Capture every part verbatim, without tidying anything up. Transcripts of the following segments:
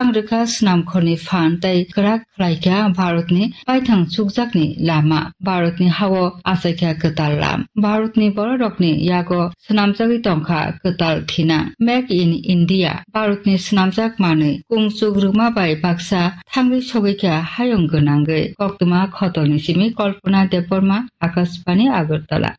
Ang rwkha swnamkhorni phan tei kwrak khlaikha Bharatni paithang chukjakni lama, Bharatni hao achaikha kwtal lam. Bharatni bororokni yago swnamjagwi tongkha kwtal thina. Make in India, Bharatni swnamjak manwi kungchuk rwma bai baksa thangwi sogwikha hayung gwnangwi. Koktwma khotolni simi Kalpana Debbarma, Akashbani Agartala.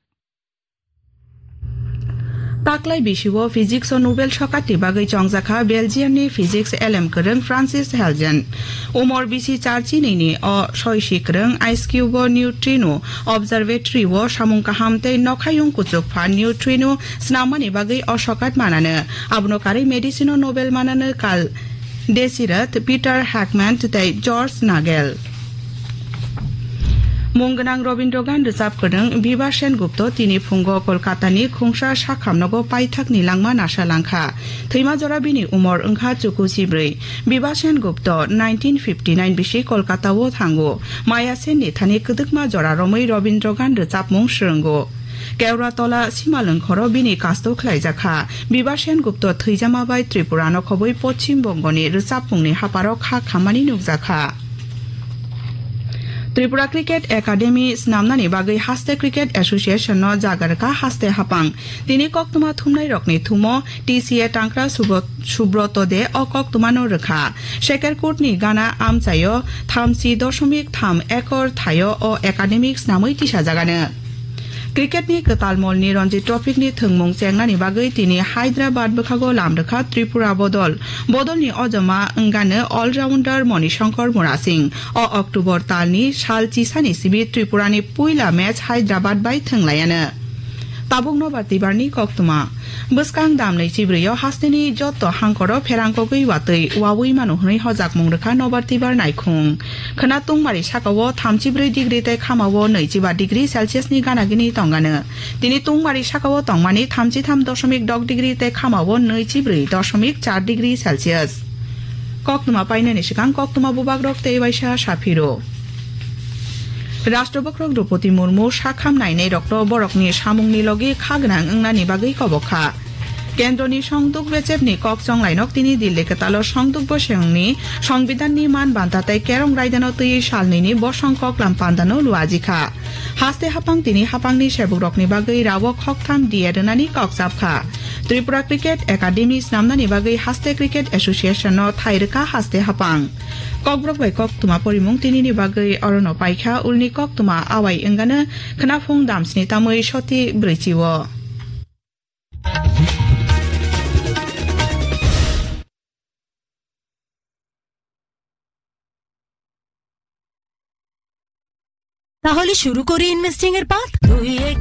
Taklai bisio physics o Nobel sokatni bagwi chongjakha Belgium ni physics elem kwrwng Francis Helgen. Umor bisi char chinini o soisi kwrwng Ice Cube o neutrino observatory o samung kaham tei nokhayung kuchukpha neutrino swnammani bagwi o sokat manano. Abono karwi medicine o Nobel manano kal Desirat, Peter Hackman tei George Nagel. Mung gwnang Robindra Gan rwchap kwrwng Biba Sen Gupta tini phungo Kolkata ni khungsa sakhamnogo paithakni langma nasa langkha. Thwima jora bini umor wngkha chuku chibrwi. Biba Sen Gupta nineteen fifty nine bisi Kolkata o thango. Maya Sen ni thani kwdwkma jora romwi Robindra Gan rwchapmung swrwngo. Keuratola simalwngkhoro bini kasto khlaijakha. Biba Sen Gupta thwijama bai Tripura nokhobwi Poschim Bongoni rwchapmungni haparo kha khammani nukjakha. Tripura Cricket Academy snamnani bagwi haste Cricket Association no jaga rwkha haste hapang. Tini koktwma thumnairokni thumo T C A Tangkra Subro-, Subroto de o koktwmano rwkha. Shekerkutni gana amchaio thamchi dosomik tham ekor thaio o academic snamwi tisajagano. Cricket ni kwtal molni Ranji Trophy ni thwngmung chengnani bagwi tini Hyderabad bwkhago lam rwkha Tripura bodol. Bodolni ojoma wngano all-rounder Moni Shankar Murasing. O October talni sal chisani simi Tripurani puila match Hyderabad bai thwnglaiano. Tabuk nobar tibarni koktwma. Bwskang damnwi chibrwio hasteni jotto hangkoro pherangkogwi watwi wawi mano hwnwi hojakmung rwkha nobar tibar naikhung. Khwna tungmari sakao thamchibrwi degree tei khamao nwichiba degree Celsius ni gana gini tongano. Tini tungmari sakao tongmani thamchitham dosomik dok degree tei khamao nwichibrwi dosomik char degree Celsius. Koktwma painani swkang koktwma bubagrok tei waisa saphiro. Rashtrabwkrok Droupadi Murmu sakham nainairokno borokni samungni logi kha gwnang wngnani bagwi kobok kha. Kendroni songduk bechepni kok chonglainok tini Dilli kwtalo songduk bosongni Songbidanni man banta tei kerong raidano twiwi salnwini bosong koklam pandano luajikha. Haste hapang tini hapangni sebukrokni bagwi rawok hoktham D A rwnani kok chapkha. Tripura Cricket Academy snamnani bagwi haste Cricket Association no thai rwkha haste hapang. Kokborok bai koktwma porimung tinini bagwi orono paikha, ulni koktwma awai wngano khwnaphung damsni tamwi soti brwichi o. তাহলে শুরু করি ইনভেস্টিং এর পাঠ। দুই এক